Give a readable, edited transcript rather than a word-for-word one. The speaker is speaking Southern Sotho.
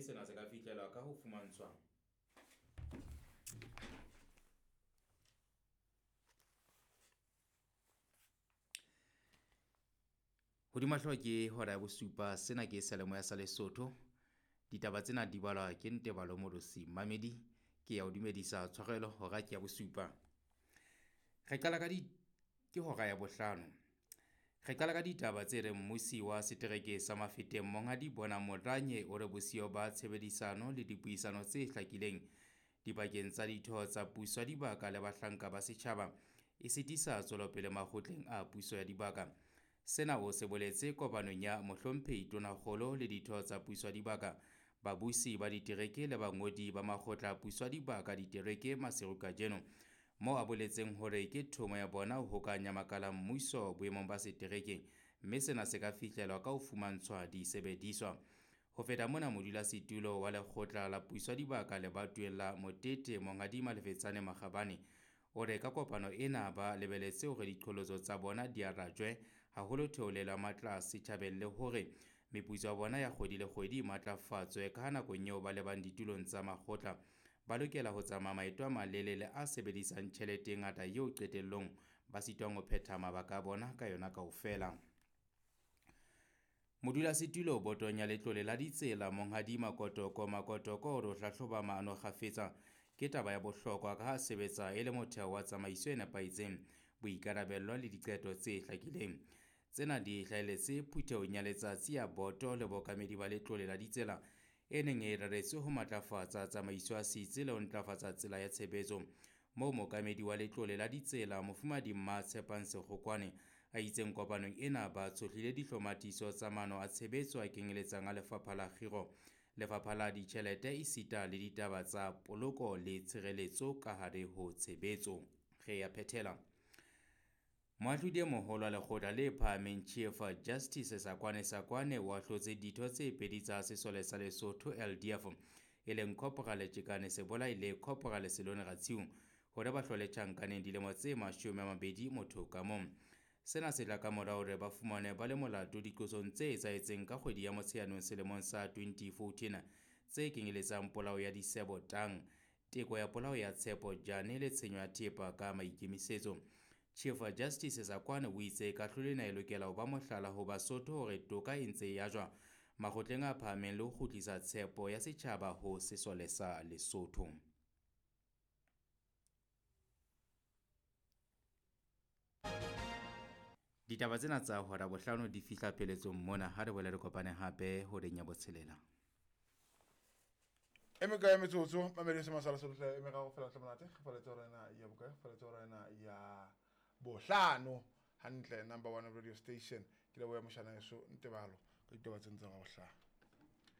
sena se ka fihlelwa ka ho fumantshwa Hodima hlooho ke hora ya bosupa sena ke seyalemoya sa Lesotho. Ditaba tsena di balwa ke Ntebalo Molosi. Mamedi ke ya o dumedisa tshwarelo hora ke ya bosupa. Re qala ka di ke hora ya bohlano. Re qala ka ditaba tse reng mmusi wa setereke sa Mafeteng Monghadi Bona Moranye o re bosiyo ba tshebedisano le dipuisano tse hlakileng dipakeng tsa ditho tsa puso ya dibaka le bahlanka ba setjhaba e sitisa tswelopele makgotleng a puso ya dibaka. Sena o se boletse kopanong ya Mohlomphehi Tonakgolo le ditho tsa puso ya dibaka, babusi ba ditereke le bangodi ba makgotla a puso ya dibaka ditereke Maseru kajeno, moo a boletseng hore ke thomo ya bona ho hokahanya makala a mmuso boemong ba setereke mme sena se ka fihlelwa ka ho fumantshwa disebediswa. Ho feta mona, modulasetulo wa lekgotla la puso ya dibaka lebatoweng la Motete, Monghadi Malefetsane Makgabane, o re ka kopano ena ba lebeletse hore diqholotso tsa bona di arajwe haholo theolelo ya matla setjhabeng le hore meputso ya bona ya kgwedi le kgwedi e matlafatswe ka ha nakong eo ba lebang ditulong tsa makgotla ba lokela ho tsamaya maeto a malelele a sebedisang tjhelete e ngata eo qetellong ba sitwang ho phetha mabaka a bona ka yona kaofela. Modulasetulo botong ya letlole la ditsela Monghadi Makotoko Makotoko o re ho hlahloba maano kgafetsa ke taba ya bohlokwa ka ha sebetsa e le motheo wa tsamaiso e nepahetseng, boikarabello le diqeto tse hlakileng. Tsena di hlahelletse phuthehong ya letsatsi ya boto le bookamedi ba letlole la ditsela e neng e reretswe ho matlafatsa tsamaiso ya setsi le ho ntlafatsa tsela ya tshebetso. Moo mookamedi wa letlole la ditsela Mofumahadi Mmatshepang Sekgokwane a itseng kopanong ena ba tshohlile dihlomathiso tsa maano a tshebetso a kenyeletsang a lefapha la kgiro, lefapha la ditjhelete esita le ditaba tsa poloko le tshireletso ka hare ho tshebetso. Re ya phethela. Moahlodi e moholo wa lekgotla le phahameng Chief Justice Sakwane Sakwane o ahlotse ditho tse pedi tsa sesole sa Lesotho LDF e leng Corporal Tjekane Sebolai le Corporal Selone Ratshiu hore ba hlole tjhankaneng dilemo tse 20 motho ka mong. Sena se tla ka mora hore ba fumane ba le molato diqosong tse etsahetseng ka kgwedi ya Motsheanong selemong sa 2014 tse kenyeletsang polao ya Disebo Tang, teko ya polao ya Tshepo Jane le tshenyo ya thepa ka maikemisetso. Chief Justice Sakwane o itse kahlolo ena e lokela ho ba mohlala ho Basotho hore toka e ntse e ajwa makgotleng a phahameng le ho kgutlisa tshepo ya setjhaba ho sesole sa Lesotho. Ditaba tsena tsa hora bohlano di fihla pheletsong mona ha re boele re kopane hape horeng ya botshelela. E mekae metsotso mamedi se masala sohle e meraro fela hle monate re faletse hora ena ya bokae re faletse hora ena ya bohlano hantle number one radio station ke leboha moshana eso Ntebalo ka ditaba tseno tsa hora bohlano.